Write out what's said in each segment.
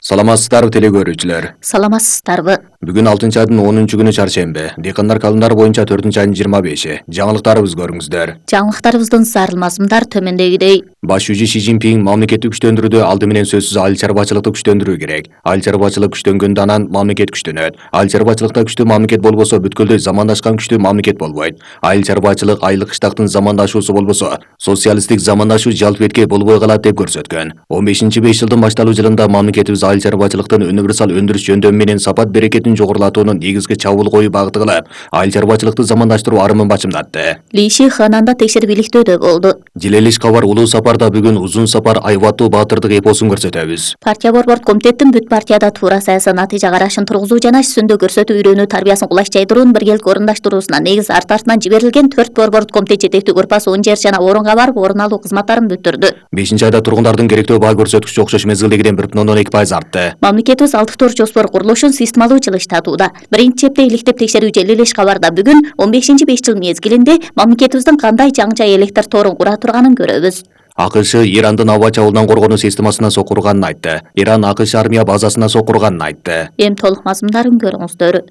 Саламатсыздарбы теле көрүүчүлөр. Саламатсыздарбы. Бүгүн 6-айдын 10-күнү чаршемби. Дыйкандар календары боюнча 4-айдын 25-и. Жаңылыктарыбызды көрүңүздөр. Жаңылыктарыбыздын зарылмазымдар төмөндөгүдөй. Баш жүзү Си Цзиньпин мамлекетти күчтөндүрүүдө алды менен сөзсүз айыл чарбачылыкты күчтөндүрүү керек. Айыл чарбачылык күчтөнгөндө анан мамлекет күчтөнөт. Айыл чарбачылыкта күчтүү мамлекет болбосо бүткүлдөй замандашкан күчтүү мамлекет болбойт. Айыл чарбачылык айыл кыштактын замандашуусу болбосо, социалисттик замандашуу жалп этке болбой калат деп көрсөткөн. 15-5 жылдын башталуу жылында мамлекетибиз айыл чарбачылыктын универсал өндүрүш жөндөмү менен сапат берекетин жогорулатуунун негизги чабуул коюу багыты кылып, айыл чарбачылыкты замандаштыруу арымын бачымдатты. Ли Ши Хананда текшерип иликтөөдө болду. Жилелиш кабар улуу сапарда бүгүн узун сапар айбаттуу баатырдык эпосун көрсөтөбүз. Партия борборд комитеттин бүт партияда туура саясий натыйжа карашын тургузуу жана ишсүндө көрсөтүү үйрөнүү тарбиясын кулаш жайдыруунун биргелик орундаштыруусуна негиз артынан жиберилген 4 борборд комитет жетектүү группасы 10 жер жана орунга барып орун алуу кызматтарын бүтүрдү. 5-айда тургундардын керектөө баа көрсөткүчү окшош мезгилдегиден 1,2% артты. Мамлекетибиз 6 тор жоспор курулушун системалуу жылыштатууда. Биринчи чепте иликтеп текшерүү Жилелиш кабарда бүгүн 15-5 жыл мезгилинде мамлекетибиздин кандай жаңча электр торун кура турганын көрөбүз. АКШ Ирандын аба чабуулунан коргонуу системасына сокурганын айтты. Иран АКШ армия базасына сокурганын айтты. Эми толук мазмундарын көрүңүздөр.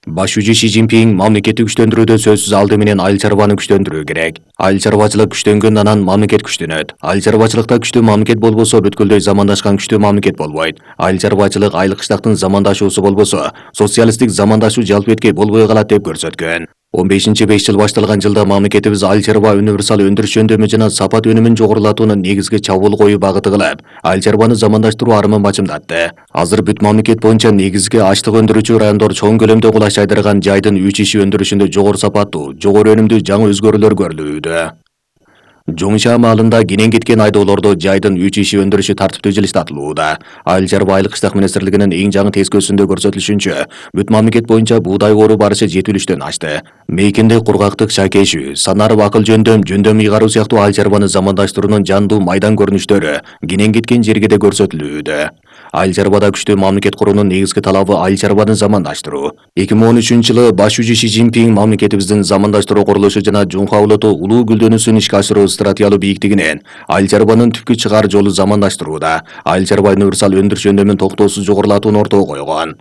Баш жүзү Си Цзиньпин мамлекетти күчтөндүрүүдө сөзсүз алды менен айыл чарбаны күчтөндүрүү керек. Айыл чарбачылык күчтөнгөндө анан мамлекет күчтөнөт. Айыл чарбачылыкта күчтүү мамлекет болбосо бүткүлдөй замандашкан күчтүү мамлекет болбойт. Айыл чарбачылык айыл кыштактын замандашуусу болбосо, социалисттик замандашуу жалп этке болбой калат деп көрсөткөн. 15-5 жыл башталган жылда мамлекетибиз айыл чарба универсал өндүрүш жөндөмү жана сапат өнүмүн жогорулатуунун негизги чабуул коюу багыты кылып, айыл чарбаны замандаштыруу арымын бачымдатты. Азыр бүт мамлекет боюнча негизги ачлык өндүрүүчү райондор чоң көлөмдө кулаш жайдырган жайдын 3 иши өндүрүшүндө жогору сапаттуу, жогору өнүмдүү жаңы өзгөрүүлөр көрүлүүдө. Жоңша маалында кенен кеткен айдоолордо жайдын 3 иши өндүрүшү тартиптүү жылыштатылууда. Айыл чарба айыл кыштак министрлигинин эң жаңы тескөөсүндө көрсөтүлүшүнчө, бүт мамлекет боюнча буудай оруу барышы 70%дөн ашты. Мейкинде кургактык шакешүү, санарып акыл жөндөм ыйгаруу сыяктуу айыл чарбаны замандаштыруунун жандуу майдан көрүнүштөрү кенен кеткен жерге да көрсөтүлүүдө. Айыл чарбада күчтүү мамлекет куруунун негизги талабы айыл чарбаны замандаштыруу. 2013-жылы баш жүзү Си Цзиньпин мамлекетибиздин замандаштыруу курулушу жана Жунха улуту улуу гүлдөнүүсүн ишке ашыруу стратегиялуу бийиктигинен айыл чарбанын түпкү чыгаар жолу замандаштырууда. Айыл чарба универсал өндүрүш жөндөмүн токтоосуз жогорулатууну ортого койгон.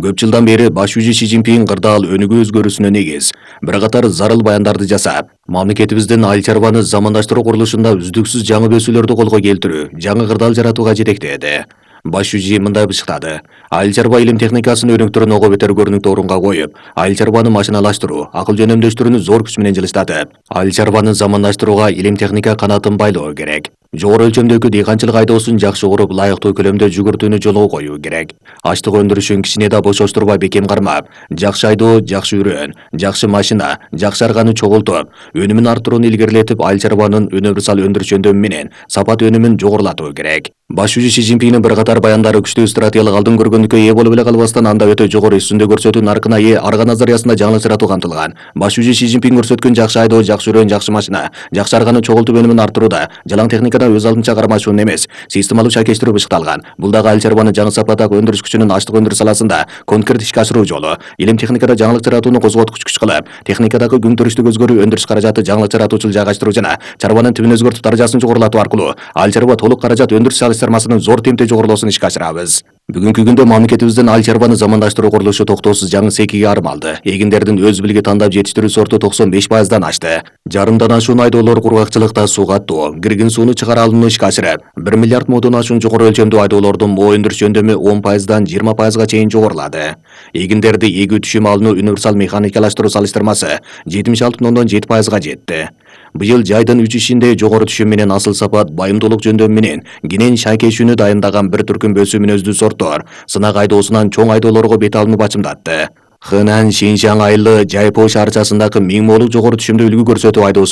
Көп жылдан бери баш жүзү Си Цзиньпин кырдаал өнүгүү өзгөрүүсүнө негиз бир катар зарыл баяндарды жасап, мамлекетибиздин айыл чарбаны замандаштыруу курулушунда үздүксүз жаңы өсүүлөрдү колго келтирүү, жаңы кырдаал жаратууга жетектеди. Баш жүзү мындай бышыктады. Айыл чарба илим техникасын өнүктүрүүнү ого бетер көрүнүктүү орунга коюп, айыл чарбаны машиналаштыруу, акыл жөнөмдөштүрүүнү зор күч менен жылыштатып, айыл чарбаны замандаштырууга илим техника канатын байлоо керек. Жогору өлчөмдөгү дыйканчылык айдоосун жакшы уруп, лайыктуу көлөмдө жүгүртүүнү жолго коюу керек. Ачлык өндүрүшүн кичине да бошоштурбай бекем кармап, жакшы айдоо, жакшы үрөөн, жакшы машина, жакшы арганы чогултуп, өнүмүн арттырууну илгерилетип, айыл чарбанын универсал өндүрүш жөндөмү менен сапат өнүмүн жогорулатуу керек. Баш жүзү Си Цзиньпиндин бир катар баяндары күчтүү стратегиялык алдын көргөндүккө ээ болуп эле калбастан, анда өтө жогору үстүндө көрсөтүү наркына ээ арга назариясында жаңылык жаратуу камтылган. Баш жүзү Си Цзиньпин көрсөткөн жакшы айдоо, жакшы үрөөн, жакшы машина, жакшы арганы чогултуп өнүмүн арттырууда жалаң техникада өз алдынча кармашуун эмес, системалуу шакештирүү бышыкталган. Бул дагы айыл чарбаны жаңы сапаттагы өндүрүш күчүнүн ачлык өндүрүш саласында конкрет ишке ашыруу жолу. Илим техникада жаңылык жаратууну козготкуч күч кылып, техникадагы күнтөрүштүк өзгөрүү, өндүрүш каражаты жаңылык жаратуучулук жайгаштыруу жана чарбанын тибин өзгөртүп даражасын жогорулатуу аркылуу айыл чарба толук каражат өндүрүш салыштырмасынын зор темпте жогорулоосун ишке ашырабыз. Бүгүнкү күндө мамлекетибиздин айыл чарбаны замандаштыруу курулушу токтоосуз жаңы секиге арым алды. Эгиндердин өз билги тандап жетиштирүү сорту 95%дан ашты. Жарымдан ашуун айдоолор кургакчылыкта суу каттоо, киргин сууну чыгара алууну ишке ашырып, 1 миллиард модон ашуун жогору өлчөмдүү айдоолордун моо өндүрүш жөндөмү 10%дан 20%га чейин жогорулады. Эгиндерди эгүү түшүм алууну универсал механикалаштыруу салыштырмасы 76,7%га жетти. Быйыл жайдын 3 ишинде жогору түшүм менен асыл сапат, байымдуулук жөндөмү менен кенен шакешүүнү дайындаган бір түркүм бөсүү мүнөздүү сорттор сынак айдоосунан чоң айдоолорго бет алууну бачымдатты. Хынан Шинжаң айылы Жайпоо шаарчасындагы 1000 молук жогору түшүмдүү үлгү көрсөтүү айдоосу